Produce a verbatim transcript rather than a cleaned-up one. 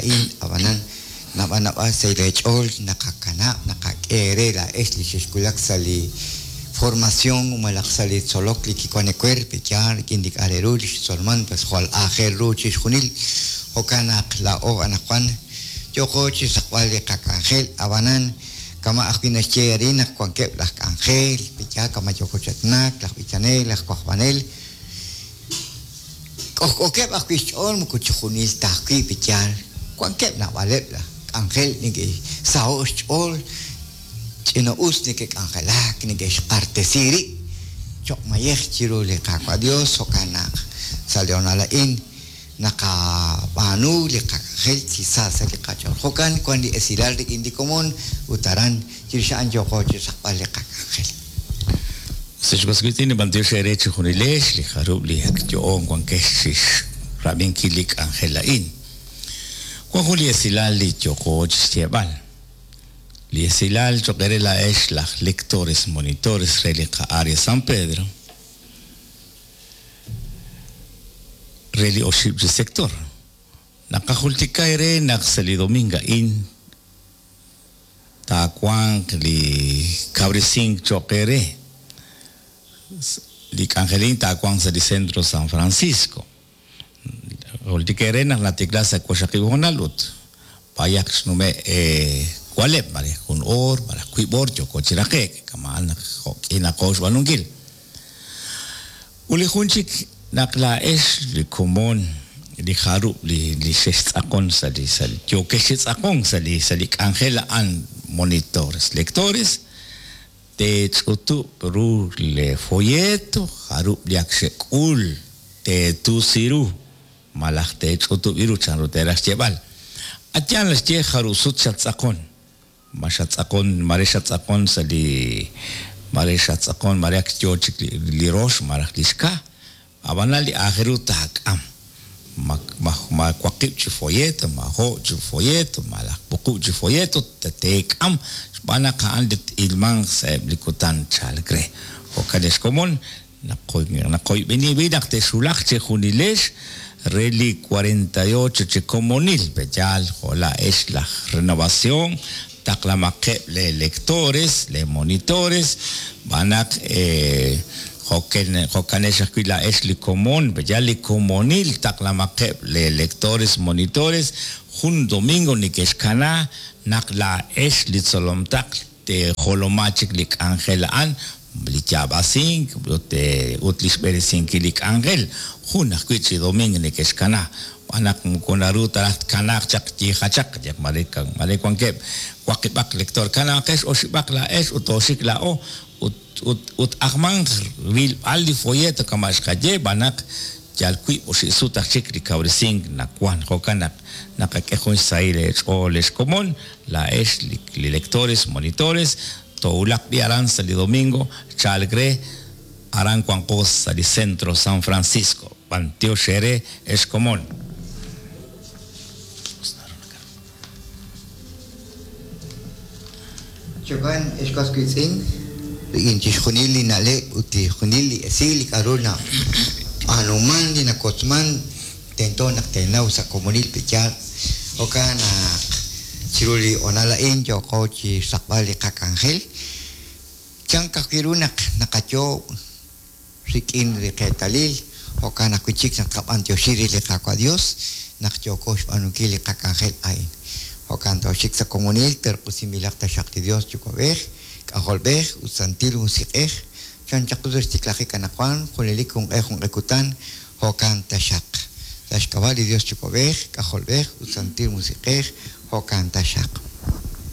a'in ab'anan naab'al naab'al sa' leech'ool naqakanab' naqak'e eere laa'ex li xexwulak sa' li formación malaj sa' li tzolok li kiwan ewer pe'yaal rik'in li k'a' re ru li xtzolman pues jwal aajel ru chixjunil jo'kan naq laa'o anaqwan yooqo chi xsaqb'al li qak'anjel ab'anan kama' ajwi' naxye arin naq wankeb' laj k'anjel pe'yaal kama' yooko chi aatinak laj b'ichanel laj wajb'anel k'ojk'ookeb' ajwi' xch'ool moko chixjunil ta ajwi' pe'yaal wankeb' naab'aleb' laj k'anjel neke'saho' xch'ool ch'ina-us neke'k'anjelak neke'xq'artesi rib' choq' mayej chiru li Qaawa' Dios jo'kan naq sa' li honal a'in naqab'aanu li qak'anjel chi sa sa' li qach'ool jo'kan wan li esilal rik'in li komon ut aran chirix a'an yooqo chi xsaqb'al li qak'anjel. Ex was wiitz'in b'antiox eere chixjunilex li jarub' li ak yo'on wankex chi xrab'inkil li k'anjel a'in. Wan jun li esilal li yooqo chi xyeeb'al. Li esilal cho'q eere laa'ex laj lectores monitores re li qa'área San Pedro re li oxib' chi sector. Naqajultika eere naq sa' li domingo a'in taawanq li kawresink cho'q eere. Li k'anjelin taawanq sa' li centro San Francisco. Jultika eere naq natikla sa' waqxaqib' honal ut b'ayaq xnume' waleb' mare jun oor malaj wiib' oor yooko chi raqe'k kama' naq jo'k'inaqo xb'aanunkil. Ut li jun chik naq laa'ex li komon li jarub' li li xextz'aqon sa' li sa' li yookex chi tz'aqonk sa' li sa' li k'anjel a'an monitores lectores teech'utub' ru le folleto jarub' li ak xek'ul teetusi ru malaj teech'utub' ru chanru teeraj xyeeb'al. Atyan naxye jarub' sut xattz'aqon. Ma xattz'aqon mare xattz'aqon sa' li mare xattz'aqon mare ak yoo chik li rox malaj li xka. Ab'anan li aajel ru taak'am. Ma ma ma waqib' chi folleto, ma jo' chi folleto, malaj wuqub' chi folleto teek'am xb'aan naq a'an li t-ilmanq sa'eb' li kutan chalk re. Jo'kan ex komon naqoyb'eni b'i naq texwulaq chixjunilex re li cuarenta y ocho chi komonil pe'yaal jo' laa'ex laj renovación taqlamaqeb' le lectores, le monitores, b'aan naq jo'kanex ajwi' laa'ex li komon pe'yaal li komonil taqlamaqeb' le lectores, monitores jun domingo neke'xkana naq laa'ex li tzolomtaql teejoloma chik li k'anjel a'an li yaab'asink ut ut li xb'eresinkil li k'anjel jun ajwi' chi domingo neke'xkana b'aan naq moko naru ta raj tkanaaq chaq yiijachaq yaq mare mare wankeb' waqib'aq lector kanaaqex oxib'aq laa'ex ut oxik laa'o ut ut ut ajmanq rilb'al li folleto kama' xqaye b'aan naq yal wiib' oxib' sut aj chik li kawresink nawan jo'kan naq naqak'e jun xsahil eech'ool ex komon laa'ex li lectores monitores toowulaq b'i aran sa' li domingo chalk re aran wanqo sa' li centro San Francisco. B'antiox eere ex komon. Chokan ex was wiitz'in rik'in chixjunil li na'leb' ut chixjunil li esil li k'a'ru nab'aanuman li nakotzman tento naq teenaw sa' komonil pe'yaal jo'kan naq chiru li honal a'in yooqo chi xsaqb'al li qak'anjel chank ajwi' ru naq naqayoob' rik'in li qeetalil jo'kan ajwi' chik naq qab'antioxi ri li Qaawa' Dios naq yooko xb'aanunkil li qak'anjel a'in. Jo'kan tooxik sa' komonil terq'usinb'ilaq taxaq li Dios Yuwa'b'ej, K'ajolb'ej ut Santil Musiq'ej chan chaq sa' xtiklajik anaqwan junelik junq'e junq'e kutan jo'kan taxaq. Sa' xk'ab'a' li Dios Yuwa'b'ej, K'ajolb'ej ut Santil Musiq'ej jo'kan taxaq.